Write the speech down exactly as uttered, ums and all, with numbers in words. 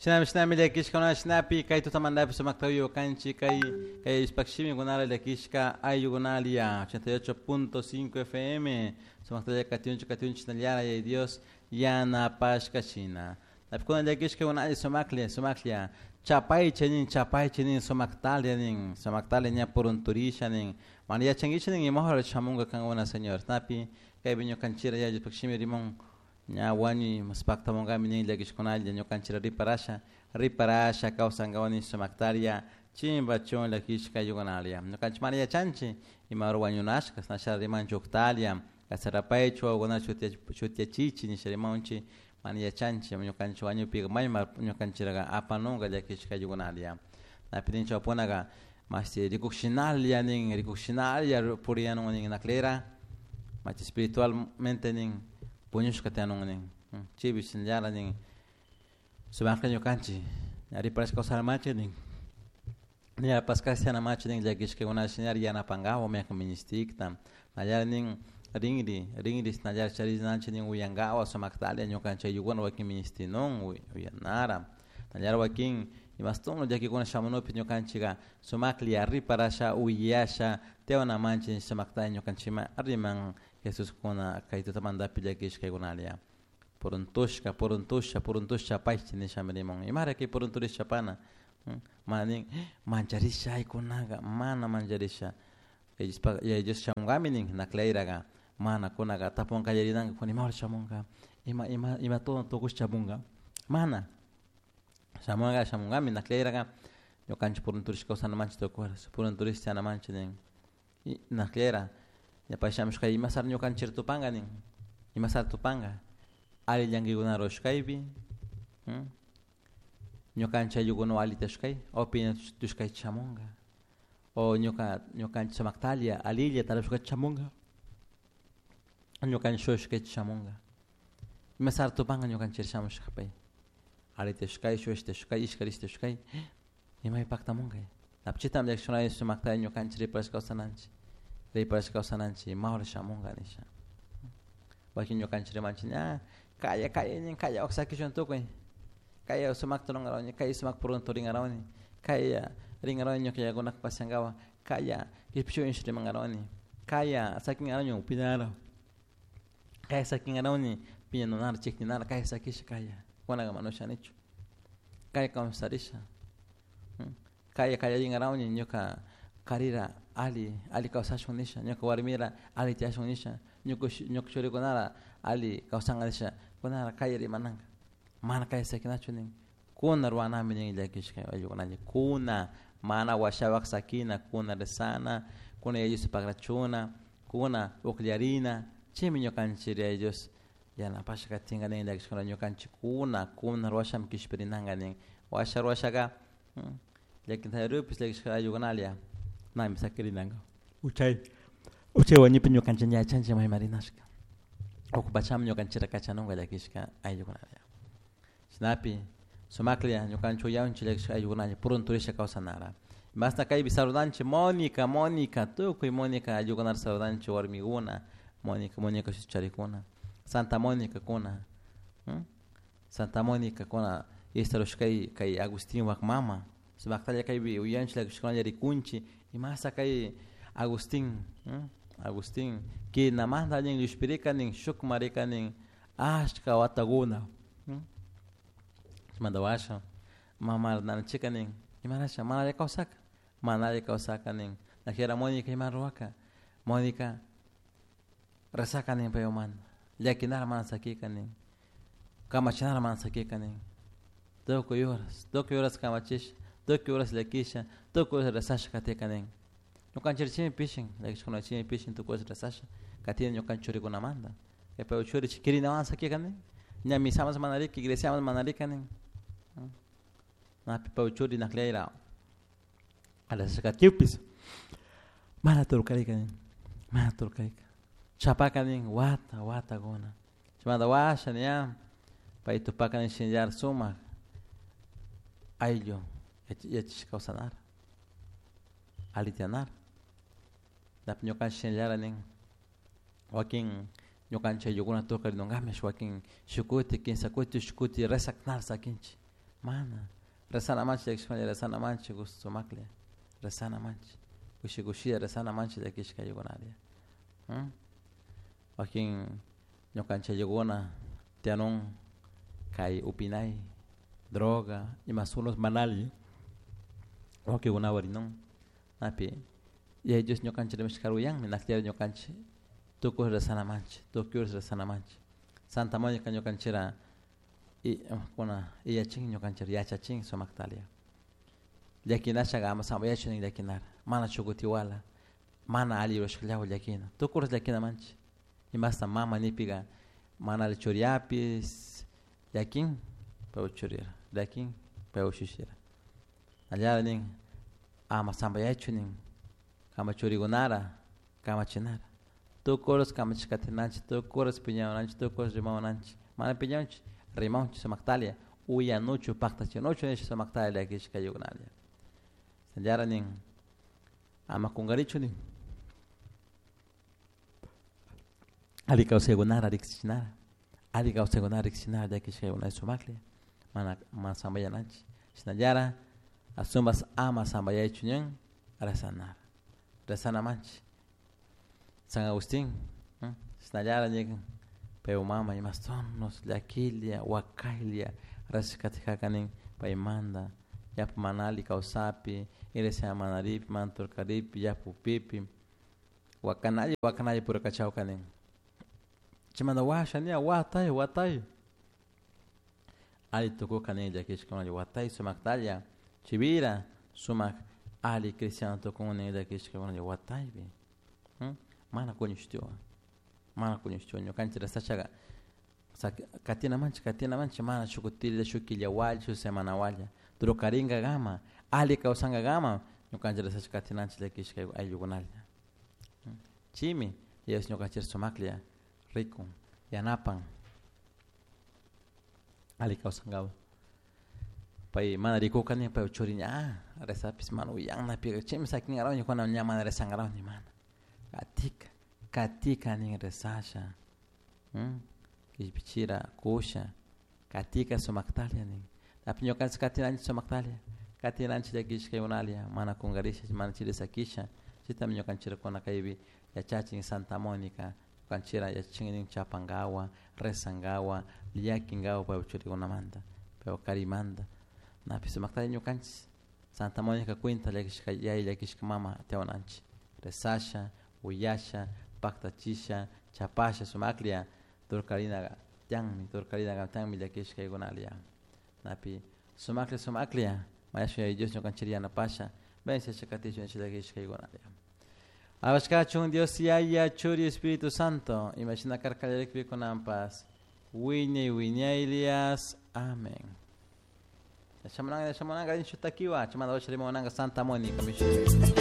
Shinami shinami llakishkuna shinapi kay tutamantapi sumakta kanchi kay kay ishpakshimi kunara llakishka ayllukunalia ochenta y ocho punto cinco F M sumaktalla katiunchik katiunchik nallara yay Dios yanapashka shina napikuna llakishka kunalla sumaklla sumaklla chapaycha nin chapaycha nin sumaktalia nin sumaktalia ña purunturisha nin mana yachankichik nin imahora shamunka kankuna Señor napi kaypi ñukanchira yay Diospakshimi rimon ña wañuy maspaktamunkami nin llakishkunalla ñukanchira riparasha riparasha kawsankawani sumaktaria chimbachun llakishka ayllukunalia ñukanchik mana yachanchik imahora wañunashka nasha rimanchik uktalia kasarapaychu wawakuna chutyachichi nisha rimanchik mana yachanchik ñukanchik wañupika mayma ñukanchiraqa apanunka llakishka ayllukunalia napi ninchik wapunaka mashti rikukshinalla nin rikukshinalla puriyanun nin naklera machi espiritualmente nin puñushka tiyanun nin chaypi shinallara nin sumakta ñukanchik riparashka kawsarmanchik nin ñapaskasha machi nin llakishkakuna shinallar yanapankawa maykan ministikta nallar nin rinri rinri shinallar charinanchik nin uyankawa sumaktalla ñukanchik ayllukuna wakin ministinun uyanara nallar wakin imastun llakikuna shamunukpi ñukanchika sumaklla riparasha uyasha tiyawanamanchik sumakta ñukanchikman riman Jesuskuna kay tutamantapi llakishkaykunalia puruntushka puruntusha puruntusha chapaychik nishami riman imara kay purunturisha chapana mana nin mancharisha aykunaka mana mancharisha Yaya Dios shamunkami nin naklayraga mana kunaka tapun kallarinanka kuna imahora shamunka ima ima ima tukush shamunka mana shamunka shamunkami naklayraga ñukanchik purunturishka kawsanamanchik tukuy purunturishka tiyanamanchik nin naklayra ña pay shamushka imasara ñukanchik tupanka nin imasara tupanka alli llankaykunata rurashkaypi ñukanchik ayllukuna allita shushkay o piña shamunka o ñuka ñukanchik sumaktalla alilla tarpushkata shamunka ñukanchik shushkayta shamunka imasara tupanka ñukanchik shamushka pay allita shushkay shushta shushkay ishkarishta shushkay imay paktamunka chaytami llakishkunalla sumakta ñukanchik riparashka kawsananchik riparashka kawsananchik imahora shamunka nisha wakin ñukanchik rimanchik ña kaya kaya nin kaya sakishun tukuy kaya sumakta rurankarawani kaya sumak purunturinkarawani kaya rinkarawani ñuka yakunaka pasiankawa kaya kishpichun rimankarawani kaya sakinkarawani upinara kaya sakinkarawani piñanunara chikninara kaya sakisha kaya kunaka mana ushanichu kaya kawsarisha kaya kallarinkarawani ñuka karira alli alli kawsashun nisha ñuka warmira alli tiyashun nisha ñuka ñuka churikunara alli kawsanka nisha kunara kaya rimananka mana kaya sakinachu nin kuna ruwanami nin llakishka ayllukunalla kuna mana washapak sakina kuna rezana kuna Yaya Diosta pagrachuna kuna ukllarina chaymi ñukanchik Yaya Dios yanapasha katinka nin llakishkuna ñukanchik kuna kuna ruwashami kishpirinanka nin washa ruwashaka llakintarupis llakishka ayllukunalla nami sakirinanka uchay uchay wañupi ñukanchik ña yachanchik mayman rinashka ukupachami ñukanchikta kachanunka llakishka ayllukunalla shinapi sumaklla ñukanchik uyanchik llakishka ayllukunalla purunturisha kawsanara mashna kaypi saludanchik Monica Monica tukuy Monica ayllukunata saludanchik warmikuna Monica Monica shuti charikuna Santa Monica kuna Santa Monica kuna estarushkay kay Agustinpak mama sumaktalla kaypi uyanchik llakishkunalla rikunchik imasa kay Agustin Agustin kinamanta nin llushpirika nin shukman rika nin ashka watakuna chaymanta washa mama nanachika nin imarasha mana alli kawsaka mana alli kawsaka nin najera Monica ima ruwaka Monica rezaka nin payumanta llakinara mana sakika nin kamachinara mana sakika nin tukuy horas tukuy horas kamachisha tukuy horas llakisha tukuy horas rezasha katika nin ñukanchik chaymi pishin llakishkuna chaymi pishin tukuy horas rezasha katina ñukanchik churikunamanta pay churi kirinawan sakika nin ña misaman mana rika iglesiaman mana rika nin napi pay churi naklayra rezashkatipis mana turkarika nin mana turkarika chapaka nin wata watakuna chaymanta washa ña pay tupaka nin shinallar sumak ayllu yachashka kawsanara alli tiyanara napi ñukanchik shinallara nin wakin ñukanchik ayllukuna tukarinungami wakin shuk kuti, kimsa kuti, shuk kuti rezak nara sakinchik Mana rezana manchi llakishkuna rezana manchi sumaklla rezana manchi kushi kushilla rezana manchi llakishka ayllukuna. Wakin ñukanchik ayllukuna tiyanun kay upinay droga ima sunos mana alli wawkikunawan rinun napi Yaya Dios ñukanchik rimashkara uyanmi nakllari ñukanchik tukuy rezana manchik tukuy rezana manchik Santa Monica ñukanchikra kuna yachachin ñukanchik yachachin sumaktalia llakinashaka ama sambayachun nin llakinara mana chukutiwala mana alli rurashkallawan llakina tukuy llakina manchik imasta mama nipika mana alli churiapish llakin paypak churira llakin paypak ushushira allara nin ama sambayachun nin kanpak churikunara kamachinara tukuy horas kamachi katinanchik tukuy horas piñawananchik tukuy horas rimawananchik mana piñawanchik rimawanchik sumaktalia uyanuchu paktachinuchu nish sumaktalia llakishka ayllukuna. Shinallara nin ama kunkarichu nin alli kawsaykunara riksichinara alli kawsaykunara riksichinara llakishka ayllukuna sumaklla mana mana sambayananchik shinallara ashunpas ama sambayaychu ñan rezanara rezana manchik San Agustin shinallara nin paypak mama imastonos llakilla wakaylla rezashkatikaka nin paymanta yapa mana alli kawsapi iglesia mana ripi mana turkaripi yapa upipi wakanalla wakanalla purikachawka nin chaymanta washa ña watay watay alli tukuka nin llakishka watay sumaktalla chivira sumak alli cristiano tukun nin llakishka wataypi mana kuñushtiwan mana kuñushtiwan ñukanchik rezashaka katina manchik katina manchik mana shuk kutilla shuk killa walla shuk semana walla trukarinkankama alli kawsankakama ñukanchik rezashpa katinanchik llakishka ayllukunalla chaymi Dios ñukanchik sumaklla rikun yanapan alli kawsankapak pay mana rikuka nin paypak churi ña rezapish mana uyanna chaymi sakinkarawni kuna ña mana rezankarawni mana katika katika nin rezasha kishpichira kusha katika sumaktalla nin tapi ñukanchik katinanchik sumaktalla katinanchik llakishkaykunalla mana kunkarisha mana chiri sakisha chaytami ñukanchik kuna kaypi yachachin Santa Monica ñukanchikra yachachin nin chapankawan rezankawan llakinkawan paypak churikunamanta paypak karimanta napish sumaktalla ñukanchik Santa Monica cuenta llakishka yaya llakishka mama tiyawananchik rezasha uyasha paktachisha chapasha sumaklla turkarina tiyanmi turkarina tiyanmi llakishkaykunalla napi sumaklla sumaklla mañashun Yaya Dios ñukanchik yanapasha bendiciasha katishun llakishkaykunalla. Alabashkachun Dios Yaya Churi Espíritu Santo imashina karka kunanpas wiñay wiñaylias amén. Shamunanga shamunanga shutakiwa chaymanta rimawananga Santa Mónica.